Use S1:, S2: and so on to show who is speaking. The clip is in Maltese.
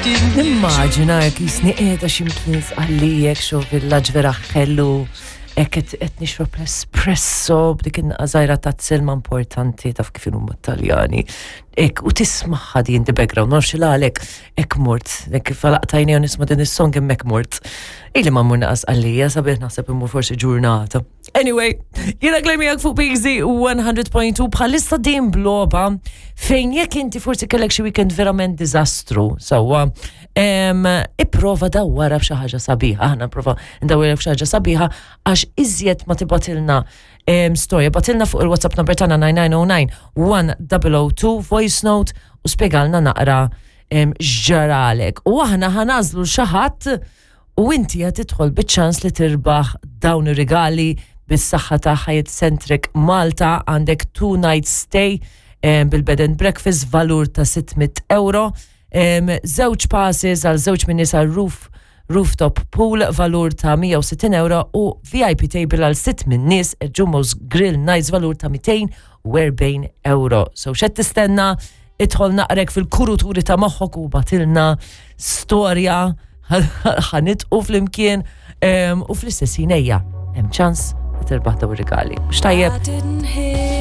S1: Nimmaġina jekk jisni qiegħda x'imkien sqallijek xo villaġġ vera ħelu hekk qed nixrob l-espresso b'dik in-żgħira ta' silma importanti taf kif huma Taljani. Hekk u tismaħħa din the background, ma nafx għalek hekk mort, hekk kif għalaqtajni u nisma' din is-song hemmhekk mort. Ili ma mmur naqas għalija sabiħ naħseb immur forsi ġurnata. Anyway, jena klemmijak fuq PXD 100.2 bħalissa din bloba fejn jekk inti forsi kellek xi weekend verament diżastru, sewwa, ipprova dawwara b'xi ħaġa sabiħa, aħna prova ndawwara b'xi ħaġa sabiħa għax iżjed ma tibatilna storja, batilna fuq il-WhatsApp number tagħna 9909 1002 voice note u spjegalna naqra x'ġaralek. U aħna ħanażlu xi ħadd U inti qed tidħol biċ-ċans li tirbaħ dawn ir-rigali bis-saħħa ta' Hyatt Centric Malta għandek two night stay eh, bil-bed and breakfast valur ta' 600 euro, żewġ passes għal żewġ minn nies għal roof rooftop pool valur ta' 160 euro u VIP table għal sitt minn nies Jumbo's Grill Nights valur ta' 240 euro. So xed tistenna idħol naqrek fil-kuruturi ta' moħħok u batilna storja ħanitqu flimkien u fl-istess ħin ejja hemm ċans li tirbaħ daw ir-rigali. Mhux tajjeb?